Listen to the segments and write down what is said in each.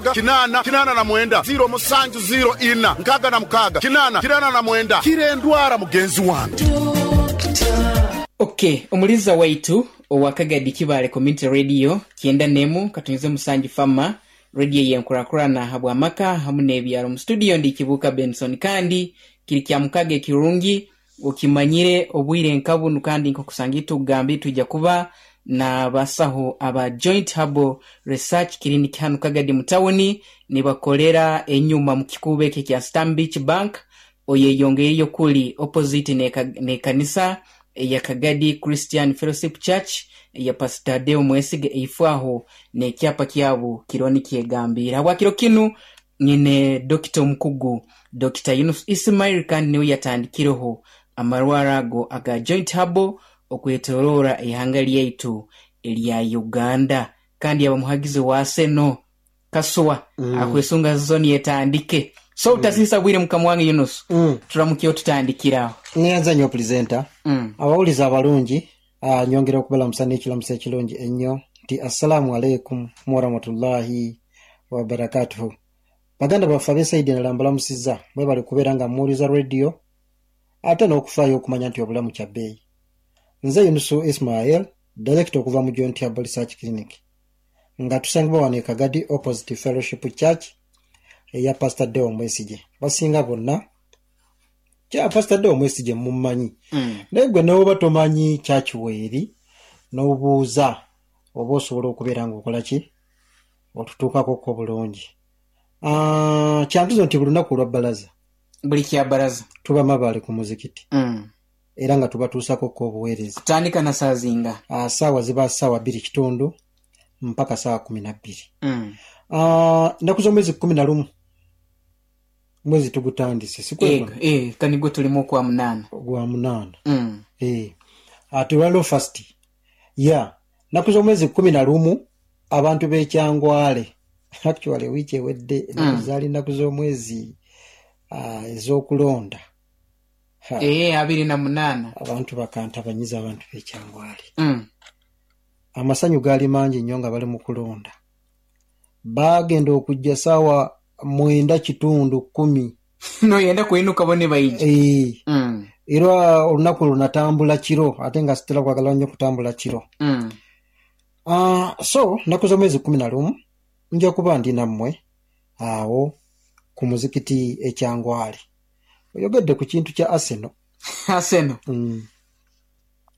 8 89 0 7 0 4 6 8 89 Kira endwara mugenzi wange. Ok, omuliza waitu owa Kagadi Kibaale Community Radio 91 katunyuze musanju fama radio yenkurakurana habw'amaka hamu n'ebyaro. Mu studio ndi Kibuuka Benson, kandi kiri kya mukaga ekirungi okimanyire obwire nka bunu, kandi nk'okusanga tugambire twija kuba n'abasaho aba Joint Herbal Research Clinic hanu Kagadi mu tawuni, nibakolera enyuma mu kikuubo ekyo ekya Stanbic Bank, oyeyongeireyo kuli opposite n'ekanisa eya Kagadi Christian Fellowship Church eya Pastor Deo Mwesige, eifo aho n'ekyapa kyabo kiriho nikyegambiire. Habwakiro kinu nyine dokita omukugu Dr. Yunus Ismail, kandi niwe yatandikireho amarwaro ago aga Joint Herbal okwetoroora ihanga lyaitu erya Uganda, kandi yaba muhagizi wa Arsenal Kasuwa akwesunga zoni etandike. So utasiisa bwire, mukama wange Yunus, turamukyeho tutandikiraho. Neyanza nnyo, pulezenta. Abawuliza abalungi, nyongera okubalamusa n'ekiramuso ekirungi ennyo nti assalaamu aleikum warahmatullahi wabarakatuhu. Baganda baffe ab'e side endala, mbalamusizza. Mwebale kubeera nga muwuliza radio ate n'okufaayo okumanya nti obulamu kya bbeeyi. Nze Yunusu Ismail, director okuva mu Joint Herbal Research Clinic, nga tusangibwa wano e Kagadi, opposite Fellowship Church eya Pastor Deo Mwesige. Basinga bonna kya Pastor Deo Mwesige mummanyi, naye gwe newoba tomanyi church weeri, n'obuuza oba osobola okubeera ng'okola ki otutuukakoko bulungi. Kyantuzo nti buli lunaku olwa bbalaza, buli kya baraza, tuba Mabaale ku muzikiti, era nga tubatuusakoko obuweereza. Kutandika na saazinga? Saawa ziba saawa 2:15 mpaka saawa 12. Ennaku z'omwezi 11, mwezi tugutandise, sikweko? Ego, kanigwo tulimu okwa munaana. Gwa munaana. Ate olwaliro first ya nnaku z'omwezi 11, abantu b'ekyangwale, actually wiiki ewedde ennaku zaali nnaku z'omwezi ez'okulonda. Ha, 28. Abantu bakantabanyiza, abantu b'ekyangwale. Amasanyu gaali mangi nnyo nga bali mu kulonda. Baagenda okujja saawa 9:15, 10. Noyenda kwenuka bo ne baija. Era olunaku olwo natambula kiro, ate nga sitera kwagala nnyo kutambula kiro. So nnaku z'omwezi 11 nja kuba ndi nammwe awo ku muzikiti ekyangwale. Oyogedde ku kintu kya Arsenal. Arsenal.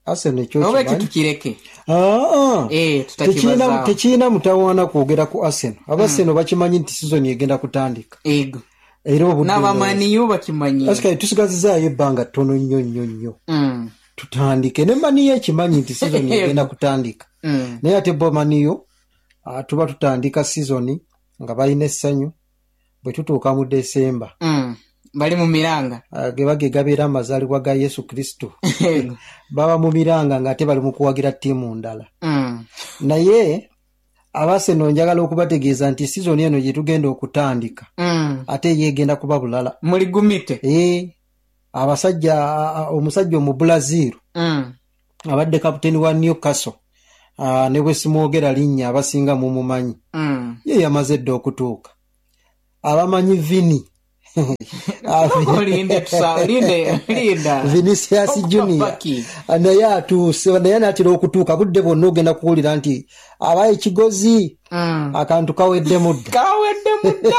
Arsenal ekyo oba ekyo kimanyi? Tukireke. Ah, ah. Tutakibazaaho. Tekirina mutawaana kwogera ku Arsenal. Abarsenal bakimanyi nti sizoni egenda kutandika. Era obudde N'abamaniyo bakimanyi. Asikaye tusigazizaayo ebbanga ttono nnyo nnyo nnyo tutandike, ne Man U ekimanyi nti sizoni egenda kutandika. Naye ate bo Man U, tuba tutandika sizoni nga balina essanyu, bwe tutuuka mu Desemba, Bali mu miranga. Ge bage gabeera amazaalibwa ga Yesu Kristo, baba mu miranga ng'ate bali mu kuwagira ttiimu ndala. Naye Abarsenal njagala okubategeeza nti sizoni eno gye tugenda okutandika, ate ye egenda kuba bulala. Muligumite. Abasajja, omusajja omubulaziru abadde kaputeni wa Newcastle, ne bwe simwogera linnya abasinga mumumanyi, ye yamaze dda okutuuka. Abamanyi Vini, Olinde linda linda. Vinicius Junior, Paki. naye atuuse, naye anaatera okutuuka. Budde bwonna ogenda kuwulira nti abaye kigozi, akantu kawedde mudda. Kawedde mudda.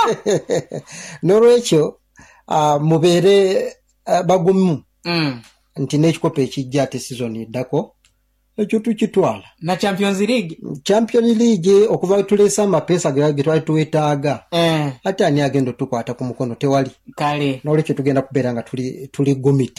N'olwekyo mubeere bagumu nti n'ekikopo ekijja, ate sizoni eddako, ekyo tukitwala. Na Champions League. Champion League, okuva tuleese amapeesa ge twali twetaaga, ate ani agenda otukwata ku mukono? Tewali. Kale. N'olwekyo tugenda kubeera nga tuli gumite.